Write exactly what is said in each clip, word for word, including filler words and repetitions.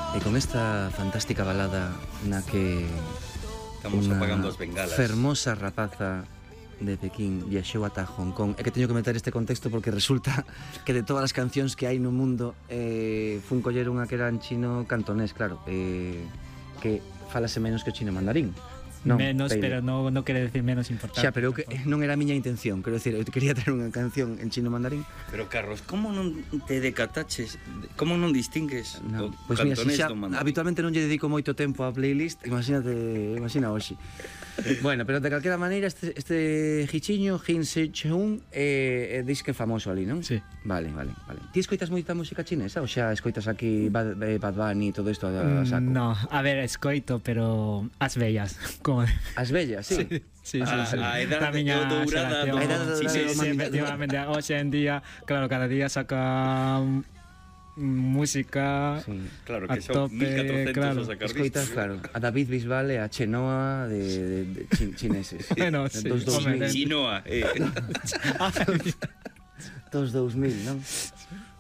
E con esta fantástica balada na que estamos unha apagando as bengalas, fermosa rapaza de Pekín viaxou ata Hong Kong. É que teño que meter este contexto porque resulta que de todas as cancións que hai no mundo eh, fun coller unha que era en chino cantonés, claro, eh, que falase menos que o chino mandarín. Non, menos, pero no, no quere decir menos importante. Xa, pero que non era a miña intención. Quero decir, eu quería ter unha canción en chino mandarín. Pero, Carlos, como non te decataches? Como non distingues no, o pues cantonés mira, si xa, do mandarín? Habitualmente non lle dedico moito tempo á playlist. Imagínate, imagina hoxe. Bueno, pero de calquera maneira este, este hichiño, Hin Se Cheung, eh, eh, dis que é famoso ali, non? Sí. Vale, vale, vale. Ti escoitas moita música chinesa ou xa escoitas aquí Bad, Bad Bunny e todo isto a saco? No, a ver, escoito, pero as bellas. Como... As bellas, sí. Sí. Sí, sí, a, sí. a edade dourada do... A edade dourada sí, sí, do sí, efectivamente. Hoxe en día, claro, cada día saca música sí. Claro, que a son tope, mil catrocentos claro. a sacar Escoitas, claro, a David Bisbal e a Chenoa de, de, de chin, chineses. Bueno, sí. Dos dous mil. Chinoa, eh. Dos dous mil, non?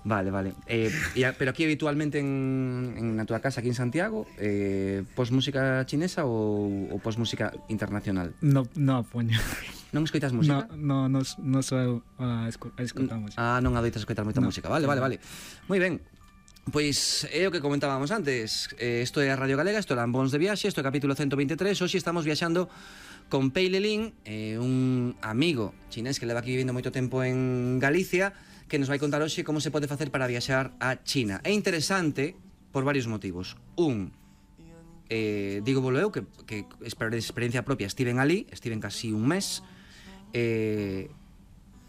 Vale, vale. Eh, ya, pero aquí habitualmente en, en na túa casa aquí en Santiago, eh, pos música chinesa ou, ou pos música internacional? No, no poño. Non escoitas música? No, no, no, no sou a escoitar música. Ah, non adoitas escoitar moita no. música. Vale, vale, vale. Moi ben. Pois é o que comentábamos antes. eh, Isto é a Radio Galega, isto é Lambóns de Viaxe, isto é o capítulo ciento veintitrés. Hoxe estamos viaxando con Pei Lelín, eh, un amigo chinés que leva aquí vivindo moito tempo en Galicia, que nos vai contar hoxe como se pode facer para viaxar a China. É interesante por varios motivos. Un, eh, digo volo eu, que, que por experiencia propia estiven ali, estiven casi un mes. eh,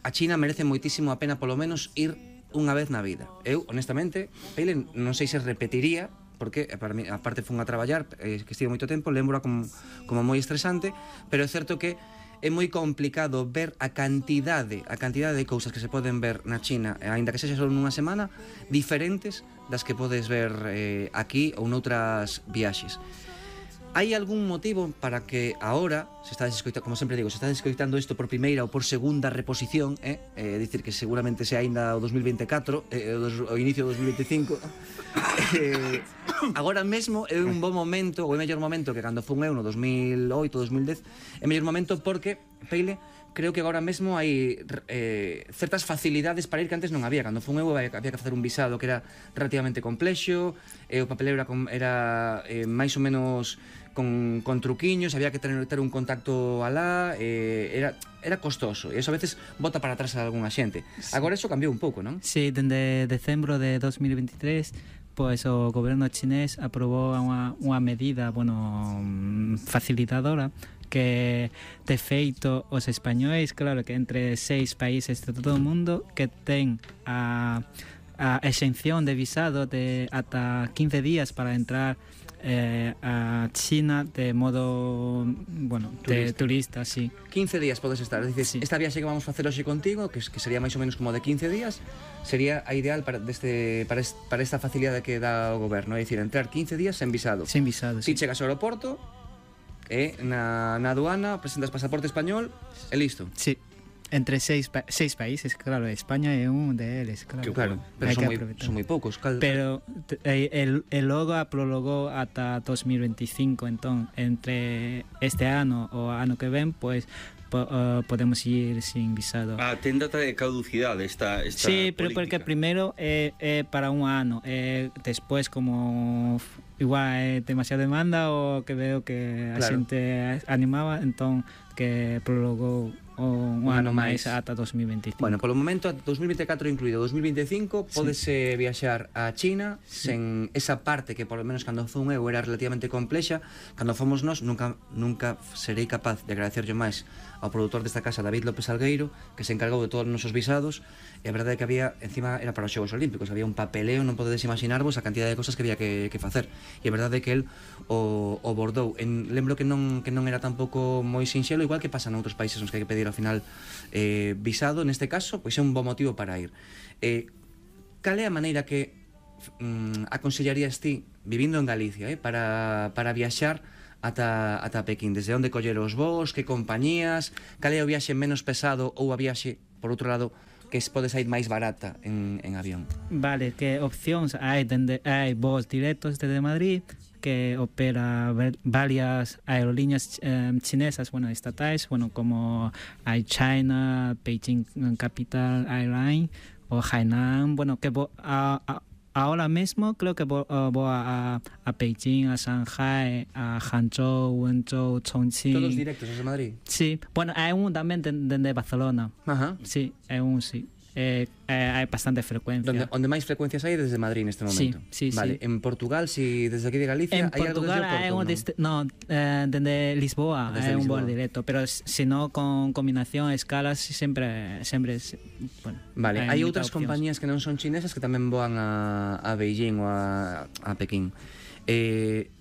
A China merece moitísimo a pena polo menos ir unha vez na vida. Eu, honestamente, Peile, non sei se repetiría, porque para mí, aparte fun a traballar, eh, que estive moito tempo, lembro como, como moi estresante, pero é certo que é moi complicado ver a cantidade a cantidade de cousas que se poden ver na China, aínda que sexa só nunha semana, diferentes das que podes ver eh, aquí ou noutras viaxes. Hai algún motivo para que ahora, se estades escoitando, como sempre digo, se estades escoitando isto por primeira ou por segunda reposición, eh, eh, dicir que seguramente sea aínda o dos mil veinticuatro, eh, o, o inicio do dos mil veinticinco, eh, agora mesmo é un bo momento, ou é mellor momento que cando fun eu no dos mil oito, dos mil dez, é mellor momento porque, Peile, creo que agora mesmo hai eh, certas facilidades para ir que antes non había. Cando fun eu había que facer un visado que era relativamente complexo, e o papeleo era, era eh, máis ou menos con, con truquiños, había que ter, ter un contacto alá, eh, era, era costoso, e iso a veces bota para atrás a algunha xente. Sí. Agora iso cambiou un pouco, non? Sí, dende decembro de dos mil veintitrés, pois o goberno chinés aprobou unha, unha medida, bueno, facilitadora, que de feito os españois, claro, que entre seis países de todo o mundo que ten a, a exención de visado de ata quince días para entrar eh, a China de modo, bueno, de turista, turista sí. quince días podes estar, dices, sí. Esta viaxe que vamos a facer hoxe contigo, que, que sería máis ou menos como de quince días, sería a ideal para, deste, para, est, para esta facilidade que dá o goberno, é dicir, entrar quince días sen visado. Sen visado, si sí. Chegas ao aeroporto, e na, na aduana presentas pasaporte español e listo. Sí. Entre seis, pa seis países, claro, España é un deles, claro. Que, claro, pero son moi, son moi poucos. Cal... Pero el, el logo prologou ata dos mil veinticinco, entón, entre este ano o ano que ven, pois, po, uh, podemos ir sin visado. Ah, ten data de caducidade esta, esta sí, pero política. Porque primeiro é, é para un ano, e despois como igual é demasiada demanda ou que veo que a claro. xente animaba, entón que prologou un ano máis ata dos mil veinticinco. Bueno, polo momento ata dos mil veinticuatro incluído dos mil veinticinco, sí. Pódese viaxar a China, sí. Sen esa parte que polo menos cando fun eu era relativamente complexa. Cando fomos nós nunca nunca serei capaz de agradecerlle máis ao produtor desta casa, David López Algueiro, que se encargou de todos os nosos visados. E a verdade é que había, encima era para os Xogos Olímpicos, había un papeleo, non podedes imaginarvos a cantidad de cosas que había que, que facer. E a verdade é que el o, o bordou. En, lembro que non, que non era tampouco moi sinxelo, igual que pasa noutros países nos que hai que pedir ao final eh, visado. Neste caso, pois é un bo motivo para ir. Eh, cal é a maneira que mm, aconsellarías ti, vivindo en Galicia, eh, para, para viaxar ata, ata Pequín? Desde onde coller os voos, que compañías, cal é o viaxe menos pesado ou a viaxe, por outro lado, que pode sair máis barata en, en avión? Vale, que opcións hai, dende, hai voos directos desde Madrid que opera varias aerolíneas eh, chinesas, bueno, estatales, bueno, como hay China, Beijing Capital Airline o Hainan, bueno, que vo, a, a, ahora mismo creo que voy uh, a, a Beijing, a Shanghai, a Hangzhou, Wenzhou, Chongqing. Todos directos desde Madrid? Sí, bueno, hay un también desde de Barcelona. Ajá. Sí, hay un, sí. Eh, eh, hay bastante frecuencia. Donde, onde máis frecuencias hai desde Madrid neste momento? Sí, sí, vale. sí. En Portugal, si desde aquí de Galicia, en hai algo desde Portugal o Porto? Hay un deste, no, eh, desde Lisboa desde hay un Lisboa. vuelo directo, pero si no con combinación, escalas, siempre, siempre bueno. Vale, hai outras opcións. compañías que non son chinesas que tamén voan a, a Beijing ou a, a Pekín. Eh,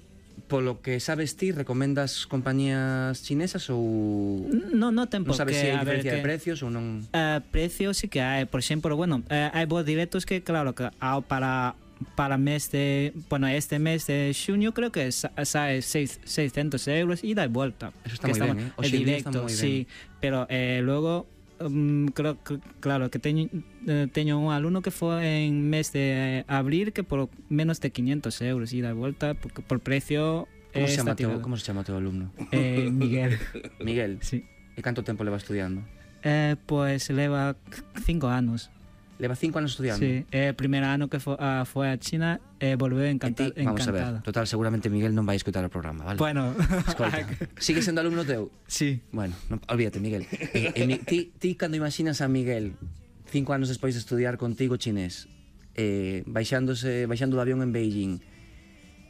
polo que sabes ti, recomendas compañías chinesas ou No, no ten non por sabes qué, se hai a ver, diferencia de que- precios ou non? Eh, precios sí que hay, por ejemplo, bueno, eh, hay vuelos directos que claro que ah, para para mes de, bueno, este mes de junio creo que sa- sale seis- seiscientos euros ida y vuelta. Eso está Que moi estamos- ben, eh? es Hoxe en día está directo, moi ben. sí, pero eh, luego um, creo que claro que teño eh, teño un alumno que fue en mes de abril que por menos de quinientos euros ida y vuelta porque por precio Como eh, se chama está teu, tirado. como se chama o teu alumno? Eh, Miguel. Miguel. Sí. E canto tempo leva estudiando? Eh, pues leva cinco años. Leva cinco anos estudiando? Sí, el primer año que fue a, fue a China eh, volvió E encanta, ti, vamos a ver, encantada. total, seguramente Miguel non vai escutar o programa, vale? Bueno, Escolta, sigue sendo alumno teu? sí. Bueno, no, olvídate, Miguel. Eh, eh, mi- ti, ti, cando imaginas a Miguel cinco anos despois de estudiar contigo chinés, eh, baixándose, baixando do avión en Beijing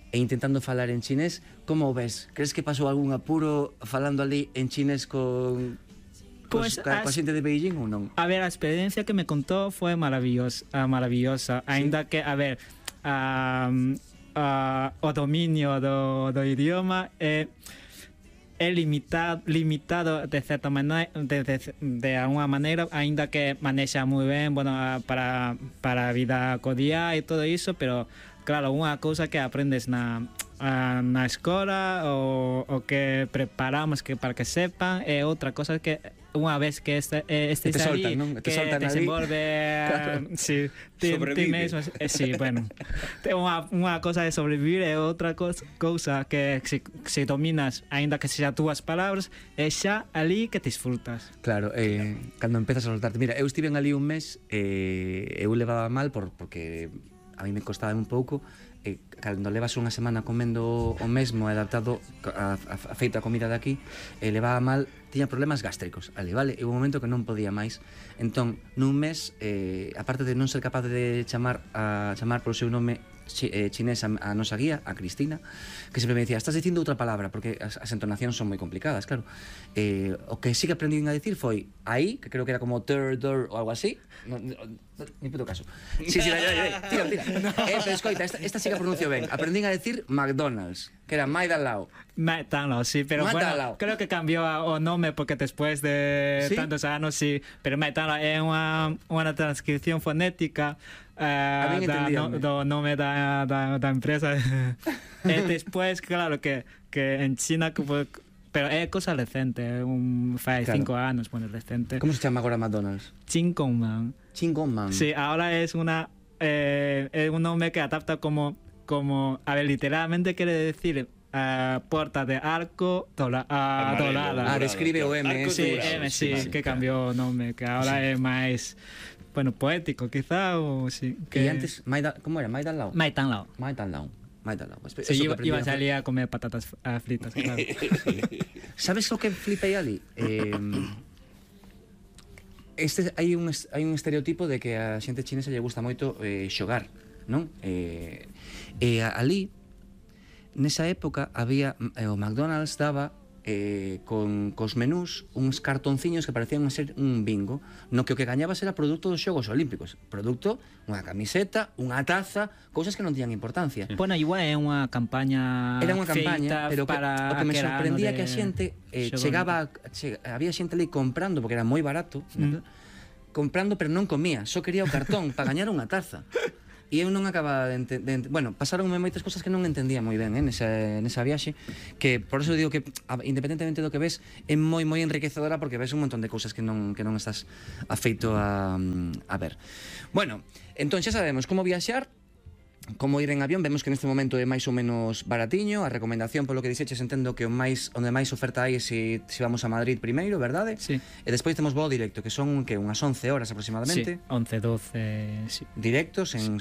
e intentando falar en chinés, como o ves? Crees que pasou algún apuro falando ali en chinés con... Pues, Pues, ca, coa as- xente de Beijing ou non? A ver, la experiencia que me contó fue maravillosa, ah, maravillosa. Ainda que, a ver, ah, ah, o dominio do, do idioma é, é limitado, limitado de certa maneira, de, de, de alguna maneira, ainda que manexa moi ben, bueno, ah, para, para a vida cotidiana e todo iso, pero claro, unha cousa que aprendes na ah, na escola o, o que preparamos que para que sepan e outra cosa que unha vez que este, eh, estes Que te ali, soltan, non? Que te que soltan ali. desenvolve Claro. sí, ti, ti Sobrevive. mesmo, eh, sí, bueno Ten unha, unha cosa de sobrevivir e outra cosa, cousa que se, se dominas aínda que sexa túas palabras é xa ali que te disfrutas. Claro, eh, cando empezas a soltarte. Mira, eu estive ali un mes, eh, eu levaba mal por, porque a mí me costaba un pouco, eh, cando levas unha semana comendo o mesmo, adaptado a, a, a feita a comida de aquí, eh, levaba mal, tiña problemas gástricos ali, vale? E un momento que non podía máis. Entón, nun mes, eh, aparte de non ser capaz de chamar a chamar polo seu nome chi, eh, chinés a, a nosa guía, a Cristina, que sempre me decía, estás dicindo outra palabra, porque as, as entonacións son moi complicadas, claro. Eh, o que sí que aprendí a decir foi aí, que creo que era como ter, der ou algo así. No, no, no, ni puto caso. Sí, sí, vai, vai, vai, tira, tira. No. Eh, pero escoita, esta, esta sí que pronuncio ben. Aprendín a decir McDonald's, que era máis al lado. Mátalo, sí, pero Mátalo. bueno, creo que cambió a- o nome porque después de ¿Sí? tantos años, sí, pero Mátalo é unha, unha transcripción fonética A eh, min da, no, entendíame. do nome da, da, da empresa. E después, claro, que, que en China, que foi- pero é cosa recente, é un, fai Claro. cinco anos, bueno, recente. Como se chama agora McDonald's? Chingonman. Chingonman. Sí, ahora es una eh, es un nombre que adapta como como a ver, literalmente quiere decir eh, puerta de arco dola, ah, Amarelo, dorada. Ah, dorado, describe o M, arco Sí, dorado, M, sí, sí, que claro. cambió nombre, que ahora es más bueno, poético quizá o sí, Que que antes, Maida, como era? Maida al lado? Mai tan lao. Maida al lado. Maida al lado. Espe- Sí, eso que iba, aprendí iba a a- salir a comer patatas ah, fritas, claro. Sabes o que flipei ali? Eh, este hai un es- hai un estereotipo de que a xente chinesa lle gusta moito eh, xogar, non? Eh, e a- ali nesa época había eh, o McDonald's daba eh, con cos menús uns cartonciños que parecían ser un bingo, no que o que gañabas era produto dos Xogos Olímpicos, producto, unha camiseta, unha taza, cousas que non tiñan importancia. Bueno, igual é unha campaña Era unha campaña, feita pero que, para o que me aquel ano sorprendía de que a xente eh, Xogos chegaba, a- che, había xente ali comprando porque era moi barato, Mm. comprando pero non comía, só quería o cartón para gañar unha taza. e eu non acababa de, ente de ent bueno, pasaronme moitas cosas que non entendía moi ben, eh, nesa, nesa viaxe, que por eso digo que a, independentemente do que ves é moi moi enriquecedora, porque ves un montón de cousas que non, que non estás afeito a, a ver. Bueno, entón xa sabemos como viaxar, como ir en avión. Vemos que neste momento é máis ou menos baratiño. A recomendación, polo que dixeches, entendo que o máis onde máis oferta hai é se, se vamos a Madrid primeiro, verdade? Sí. E despois temos voo directo, que son que unhas once horas aproximadamente. Sí, once, doce, sí. Directos en